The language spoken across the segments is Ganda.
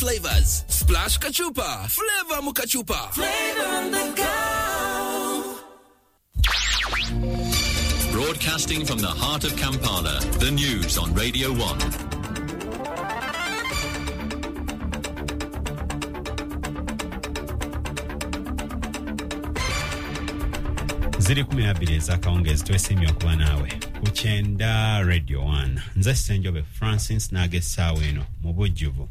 Flavors. Splash Kachupa. Flavor Mukachupa. Flavor on the go. Broadcasting from the heart of Kampala, the news on Radio 1. Ziri 12 ez'akawungeezi. Twesiimye okuba naawe ku 90 Radio 1. Nze Ssenjobe Francis naaga essaawa eno mu bujjuvu.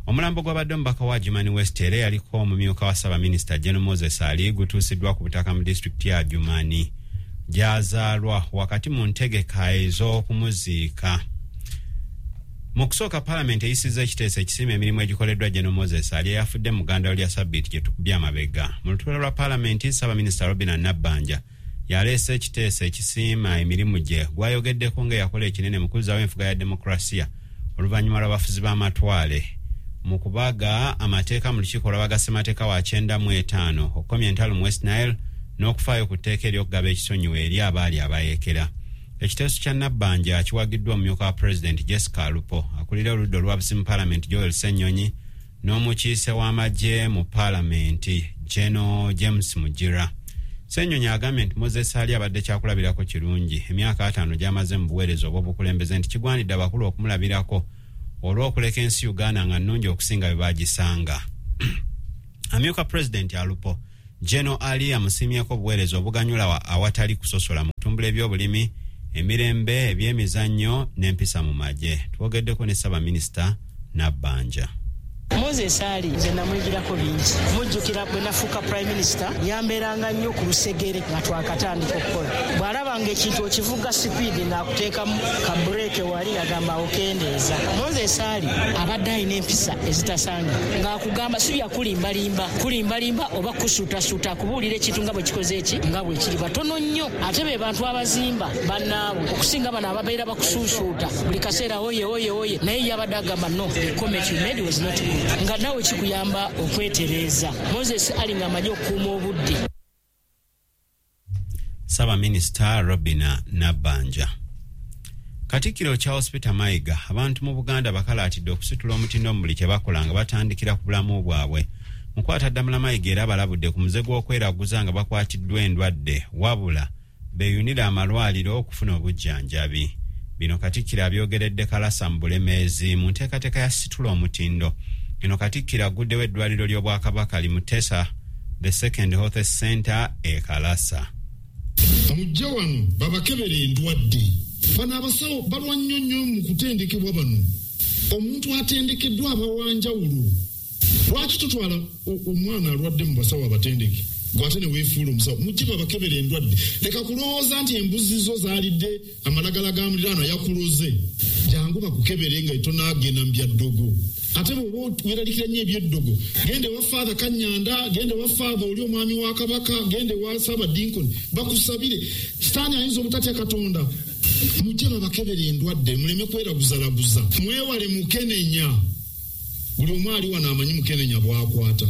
Omulambo gwabadde omubaka wa Adjumani West era yaliko omumyuka wa ssaabaminisita Gen Moses Ali gutuusiddwa ku butaka mu disitulikiti ya Adjumani gy'azaalwa wakati mu ntegeka ez'okumuziika. Mu kusooka, Paalamenti eyisizza ekiteeso ekisiima emirimu egikoleddwa Gen Moses Ali eyafudde mu ggandalo lya sabbiiti gye tukubye amabega. Mu lutuula lwa Paalamenti, Ssaabaminisita Robina Nabbanja yaleese ekiteeso ekisiima emirimu gye gwayogeddeko ng'eyakola ekinene mu kuzzaawo enfuga ya demokurasiya oluvannyuma lw'abafuzi b'amatwale, mu kubaga amateeka mu lukiiko olwabaga ssemateeka wa 95, okukomya entalo mu West Nile n'okufaayo ku tteeka ery'okugaba ekisonyiwo eri abaali abayeekera. Ekiteeso kya Nabbanja kiwagiddwa omumyuka wa Pulezidenti Jessica Alupo, akulira oludda olwabusi mu Paalamenti Joel Ssennyonyi n'omukiise w'amagye mu Paalamenti Geno James Mugira. Ssennyonyi agambye nti Moses Ali abadde kyakulabirako kirungi emyaka 50 gy'amaze mu buweereza obw'obukulembeze, nti kigwanidde abakulu okumulabirako olw'okuleka ensi Uganda nga nnungi okusinga bwe bagisanga. Amyuka Pulezidenti Alupo Geno Ali amusiimyeko obuweereza obuganyula awatali kusosola mu kutumbula ebyobulimi, emirembe, ebyemizannyo n'empisa mu magye. Twogeddeko ne Ssaabaminisita Nabbanja. Moses Ali nze namuyigirako bingi. Mujjukira bwe nafuuka Prime Minister, yambeeranga nnyo ku lusegere nga twakatandika okukola. Bw'alabanga ekintu okivuga sipiidi, ng'akuteekamu ka brake wali, agamba okendeeza. Moses Ali abadde alina empisa ezitasanga, ng'akugamba si byakulimbalimba kulimbalimba oba kusuutasuuta, akubuulira ekintu nga bwe kikoze eki nga bwe kiri. Batono nnyo ate be bantu abazimba bannaabwe okusinga bano ababeera bakusuusuuta buli kaseera, oye oye oye. Naye yabadde agamba, "No, the comment you made was not good," nga naawe kikuyamba okwetereeza. Moses Ali ng'amanyi okukuuma obudde. Ssaabaminisita Robina Nabbanja. Katikkiro Charles Peter Mayiga abantu mu Buganda bakalaatidde okusitula omutindo mu buli kye bakola nga batandikira ku bulamu bwabwe. Mukwataddamula Mayiga era balabudde ku muze gw'okweraguza nga bakwatiddwa endwadde, wabula beeyunire amalwaliro okufuna obujjanjabi. Bino Katikkiro abyogeredde Kalasa mu Bulemeezi mu nteekateeka ya Situla Omutindo. Eno Katikkiro aguddewo eddwaliro ly'Obwakabaka li Mutesa the Second Health Center e Kalasa. Mujje wano babakebera endwadde. Bano abasawo balwa nnyo nnyo mu kutendekebwa. Bano omuntu atendekeddwa aba wanjawulo. Lwaki totwala omwana alwadde mu basawo abatendeke, gwate ne weefuula omusawo? Mujje babakebera endwadde. Leka kulowooza nti embuzi zo zaalidde amalagala ga muliraano yakuloze. Jangu bakukebere nga tonagenda mu byaddogo. Ate bw'oba weeralikira nnyo ebyeddogo, genda ewa Faatha Kanyanda, genda ewa Faatha oli omwami wa Kabaka, genda ewa Saabadinkoni bakusabire. Sitaani ayinza obutatya Katonda. Mujje babakebera endwadde, muleme kweraguzalaguza, mwewale mukenenya. Buli omu ali wano amanyi mukenenya bwakwata.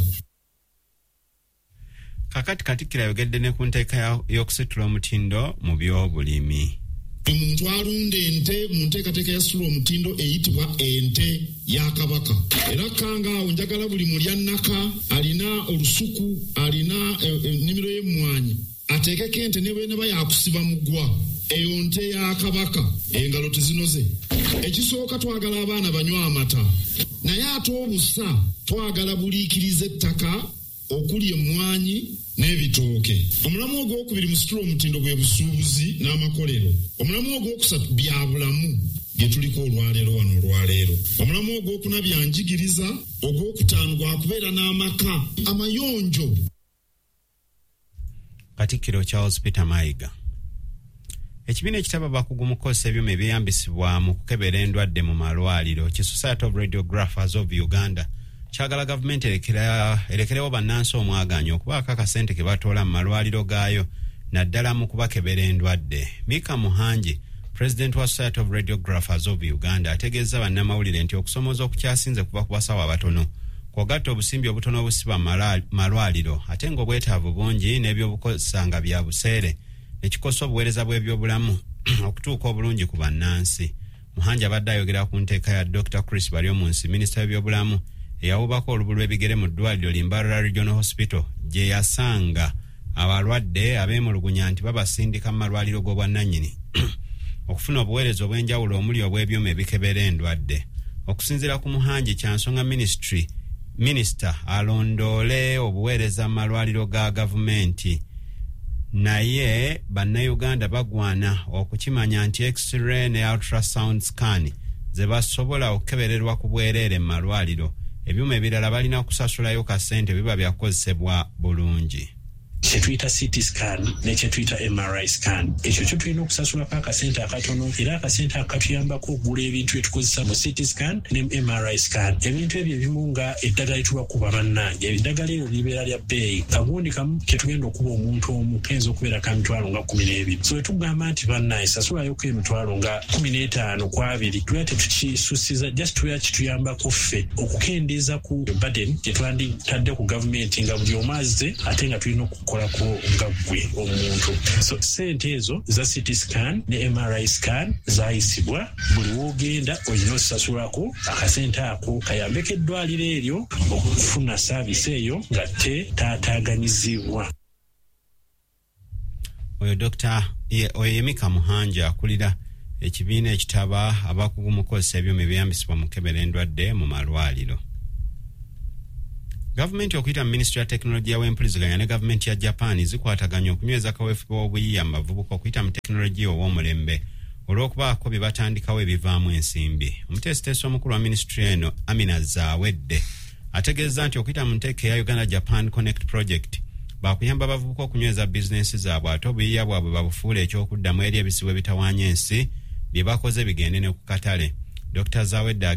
Kakati Katikkiro ayogedde ne ku nteeka y'okusitula omutindo mu byobulimi. Buli muntu alunda ente mu nteekateeka ya Situla Omutindo eyitibwa Ente ya Kabaka. Era kanga awo njagala buli mulyannaka alina olusuku, alina ennimiro y'emmwanyi, ateekeko ente ne bweneba yakusiba mugwa. Eyo nte ya Kabaka, engalo tezinoze. Ekisooka, twagala abaana banywe amata, naye ate obusa twagala buliikiriza ettaka okuli emmwanyi n'ebitooke. Omulamu ogwokubiri mu Situla Omutindo bwe busuubuzi n'amakolero. Omulamu ogwokusatu bya bulamu bye tuliko olwaleero wano olwaleero. Omulamu ogwokuna byanjigiriza. Ogwokutaano gwakubeera n'amaka amayonjo. Katikkiro Charles Peter Mayiga. Ekibiina ekitaba abakugu mu kukozesa ebyuma ebyeyambisibwa mu kukebera endwadde mu malwaliro ki Society of Radiographers of Uganda kyagala gavumenti erekerewo bannansi omwagaanya okubaako akasente ke batoola mu malwaliro gaayo, naddala mu kubakebera endwadde. Mika Muhangi, pulezidenti wa Society of Radiographers of Uganda, ategeeza bannamawulire nti okusomooza okukyasinze kuva ku basawo abatono, kw'ogatta obusimbi obutono obusiba mu malwaliro, ate ng'obwetaavu bungi n'ebyobukozesa nga bya buseere, ne kikosa obuweereza bw'ebyobulamu okutuuka obulungi ku bannansi. Muhangi abadde ayogera ku nteeka ya Dr Chris Baryomunsi, minisita w'ebyobulamu, Eyawubako olubu lw'ebigere mu ddwaliro Limbarara Regional Hospital gye yasanga abalwadde abeemulugunya nti babasindika mu malwaliro g'obwannannyini okufuna obuweereza obw'enjawulo omuli obw'ebyuma ebikebera endwadde. Okusinziira ku Muhangi, kyansonga ministry minisita alondoole obuweereza mu malwaliro ga gavumenti, naye bannayuganda bagwana okukimanya nti x-ray ne ultrasound scan ze basobola okukebererwa ku bwereere mu malwaliro, ebyuma ebirala balina kusasulayo kasente biba byakukozesebwa bulungi. Kyetuyita CT scan ne kyetuyita MRI scan, ekyo kyo tulina okusasulako akasente akatono, era akasente ako katuyambako okugula ebintu byetukozesa mu CT scan ne MRI scan. Ebintu ebyo ebimu nga eddagala lyetubakuba, bannange, eddagala eryo libeera lya bbeeyi. Kagundi kamu ketugenda okuba omuntu omu kayinza okubeera ka mitwalo nga 12. So wetugamba nti bannange sasulayoko emitwalo nga 15 ku 20, tubeera tetukisusiza, just tubeera kituyambako ffe okukendeeza ku burden gyetwanditadde ku gavumenti nga buli omu azze ate nga tulina okukolako nga ggwe omuntu. So sente ezo za CT scan ne MRI scan zayisibwa, buli woogenda olina osasulako akasente ako kayambeko eddwaliro eryo okufuna service eyo nga tetaataganyizibwa. Oyo Dr. Oyo Yemika Muhanja akulira ekibiina ekitaba abakugu mu kukozesa ebyuma ebyeyambisibwa mu kukebera endwadde mu malwaliro. Gavumenti okuyita mu minisitule ya tekinologiya w'empuliziganya ne gavumenti ya Japan zikwataganya okunyweza kaweefube w'obuyiiya mu bavubuka okuyita mu tekinologiya ow'omulembe olw'okubaako bye batandikawo ebivaamu ensimbi. Omuteesiteesi omukulu wa minisitule eno, Amina Zawedde, ategeeza nti okuyita mu nteeka eya Uganda Japan Connect Project bakuyamba abavubuka okunyweza bizinensi zaabwe ate obuyiiya bwabwe babufuule ekyokuddamu eri ebizibu ebitawaanya ensi, bye bakoze bigende ne ku katale. Dr Zawedde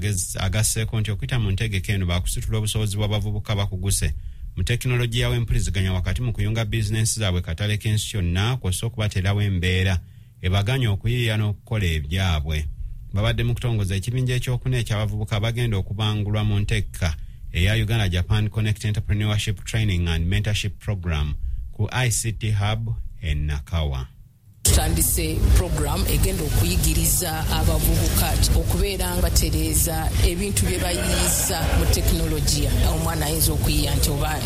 agasseeko nti okuyita mu ntegeka eno bakusitula obusobozi bw'abavubuka bakuguse mu tekinologiya w'empuliziganya wakati mu kuyunga bizinensi zaabwe katale k'ensi yonna, kw'ossa okubateerawo embeera ebaganya okuyiiya n'okukola ebyabwe. Babadde mu kutongoza ekibinja ekyokuna eky'abavubuka abagenda okubangulwa mu nteeka eya Uganda Japan Connect Entrepreneurship Training and Mentorship Program ku ICT Hub e Nakawa. Tutandise program egenda okuyigiriza abavubuka okubeera nga batereeza ebintu bye bayiyiza mu tekinologiya. Omwana ayinza okuyiya nti oba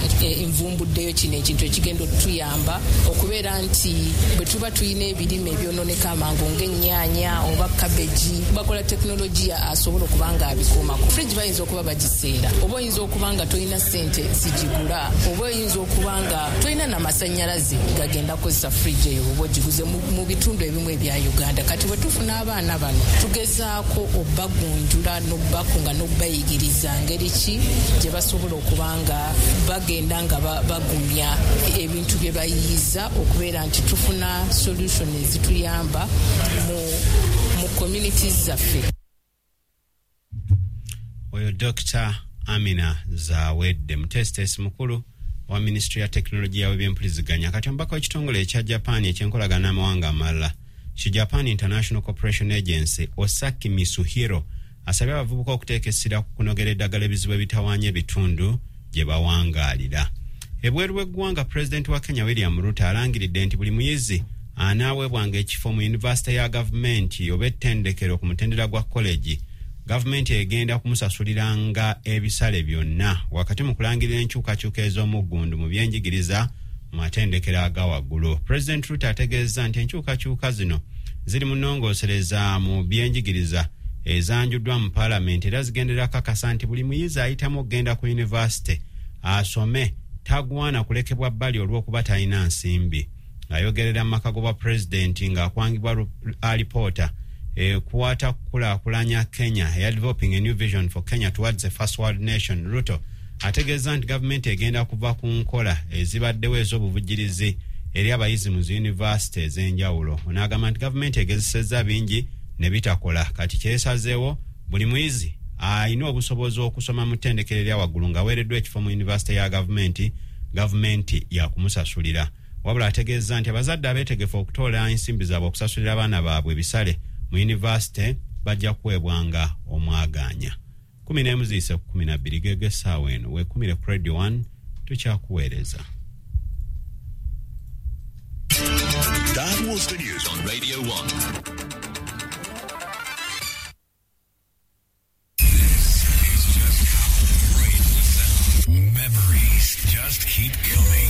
nvumbuddeyo kino ekintu ekigenda otuyamba okubeera nti bwe tuba tulina ebirime ebyononeka amangu ng'ennyaanya oba kabeji, bakola tekinologiya asobola okuba nga abikuumako. Fridge bayinza okuba bagiseera, oba oyinza okuba nga tolina ssente zigigula, oba oyinza okuba nga tolina namasannyalaze gagenda kukozesa fridge eyo oba ogiguze mu bitundu ebimu ebya Uganda. Kati bwe tufuna abaana bano, tugezaako obbagunjula n'obbakunga n'obbayigiriza ngeri ki gye basobola okuba nga bagenda nga bagumya ebintu bye bayiyiza okubeera nti tufuna solution ezituyamba mu communities zaffe. Oyo Dr Amina Zawedde, muteesiteesi mukulu wa minisitule ya tekinologiya w'ebyempuliziganya. Kati omubaka w'ekitongole ekya Japan ekyenkolagana n'amawanga amalala ki Japan International Cooperation Agency, Osaki Misuhiro, asabye abavubuka okuteeka essira ku kunogera eddagala ebizibu ebitawaanya ebitundu gye bawangaalira. Ebweru w'eggwanga, pulezidenti wa Kenya William Ruto alangiridde nti buli muyizi anaaweebwanga ekifo mu yunivasite ya gavumenti oba ettendekero ku mutendera gwa collegi, gavumenti egenda kumusasuliranga ebisale byonna, wakati mu kulangirira enkyukakyuka ez'omuggundu mu byenjigiriza mu matendekero aga waggulu. Pulezidenti Ruto ategeezza nti enkyukakyuka zino ziri mu nnongoosereza mu byenjigiriza ezanjuddwa mu paalamenti era zigenderera kakasa nti buli muyizi ayitamu okugenda ku yunivasite asome tagwana kulekebwa bbali olw'okuba talina nsimbi. Ayogerera mu maka g'obwa pulezidenti ng'akwangibwa alipoota ekwata kukulaakulanya Kenya eya Developing a New Vision for Kenya Towards a First World Nation, Ruto ategeeza nti gavumenti egenda kuva ku nkola ezibaddewo ez'obuvujjirizi eri abayizi mu ziyunivasite ez'enjawulo. Onaagamba nti gavumenti egezesezza bingi ne bitakola, kati kyesazeewo buli muyizi alina obusobozi okusoma mu ttendekero erya waggulu ng'aweereddwa ekifo mu yunivasite ya gavumenti, gavumenti yakumusasulira. Wabula ategeeza nti abazadde abeetegefu okutoola ensimbi zaabwe okusasulira abaana baabwe ebisale mu yunivasite bajja kuweebwanga omwagaanya. 11 ziyise ku 12 gege essaawa eno. Weekumire ku Radio 1, tukyakuweereza. That was the news on Radio 1. This is just how great Just keep